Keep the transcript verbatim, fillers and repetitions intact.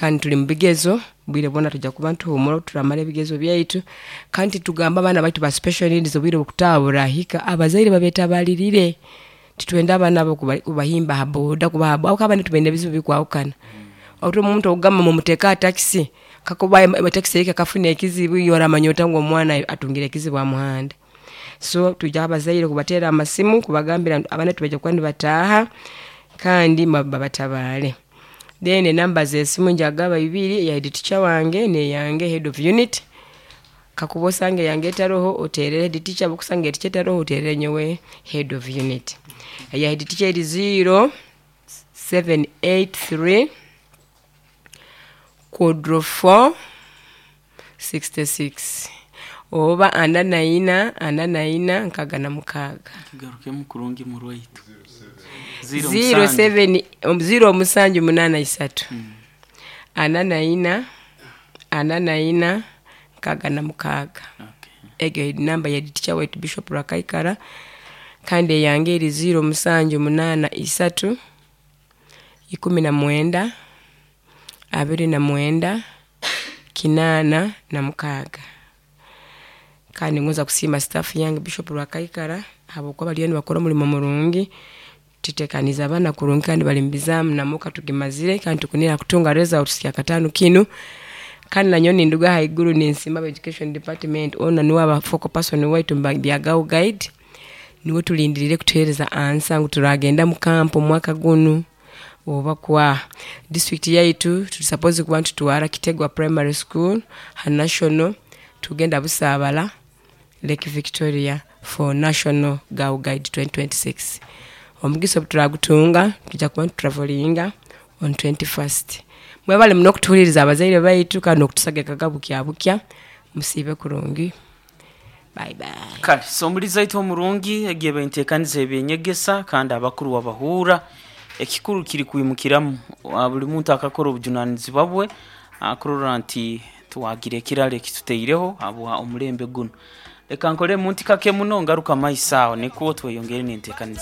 Kandi tuli mu bigezo, bwire bwona tujja kuba nituhumura turamara ebigezo byaitu. Kandi tugamba abaana baitu ba special needs, obwire obukutaaha burahika, abazaire babetabalirire. Titwenda abaana abo kuba- kubahimba ha boda, kubaha, habwokuba abaana baitu baine ebizibu bikwahukana. Oti omuntu okugamba mumuteeke ha takisi, kakuba takisi ehika ekafuna ekizibu, iwe oramanya ota ngu omwana atungire ekizibu ha muhanda? So twija abazaire kubaterra amasimu kubagambira ngu abaana baitu nibaija kuba nibataaha kandi babatabaale. Then enamba z'esimu nja kugaba ibiri, eya head teacher wange n'eyange head of unit. Kakuba osanga eyange etaroho, oteerre head teacher, obu okusanga head teacher etaroho, oteerere nyowe head of unit. Eya head teacher eri zero seven eight three quadro four sixty six oba ana na ina, ana na ina, nkaaga na mukaaga. Kigarukemu kurungi, murwaitu. Zero seven, zero musanju munaana isatu, ana na ina, ana na ina, nkaaga na mukaaga. Egi namba ya head teacher waitu Bishop Rwakaikara, kandi eyange eri zero musanju munaana isatu, ikumi na mwenda, abiri na mwenda, kinaana na mukaaga. Kandi ningonza kusiima staff yange Bishop Rwakaikara habwokuba baliyo nibakora omulimo murungi, tuteekaniize abaana kurungi kandi bali mubizaamu, na mock tugimazire, kandi tukunihira kutunga results kyakataano kinu. Kandi nanyowe ninduga haiguru ninsiima aba education department, onu nuwe aba focal person waitu mubya Girl Guide, nuwe tulindiriire kutuheereza answer ngu turagenda mu camp omwaka gunu oba kwaha. District yaitu tuli supposed kuba nitutwara Kitegwa Primary School ha national, tugenda Busaabala, Lake Victoria for National Girl Guide twenty twenty six. Omugisa obu turaagutunga, twija kuba nitutravelinga on twenty first. Mwebale muno kutuhuliiriza abazaire baitu kandi n'okutusagikaga bukya bukya, musiibe kurungi, bye bye. Kale so omulizi aitu omurungi, egi eba enteekaniza ebyenyegesa, kandi abakuru wabahuura. Ekikuru kiri kwimukiramu, ah, buli muntu akakora obujunanizibwa bwe akurora nti twagira ekiraro ekituteireho habwa omulembe guno. Leka nkole muntu kake muno, ngaruka maiso aho nikwo tweyongere n'enteekaniza.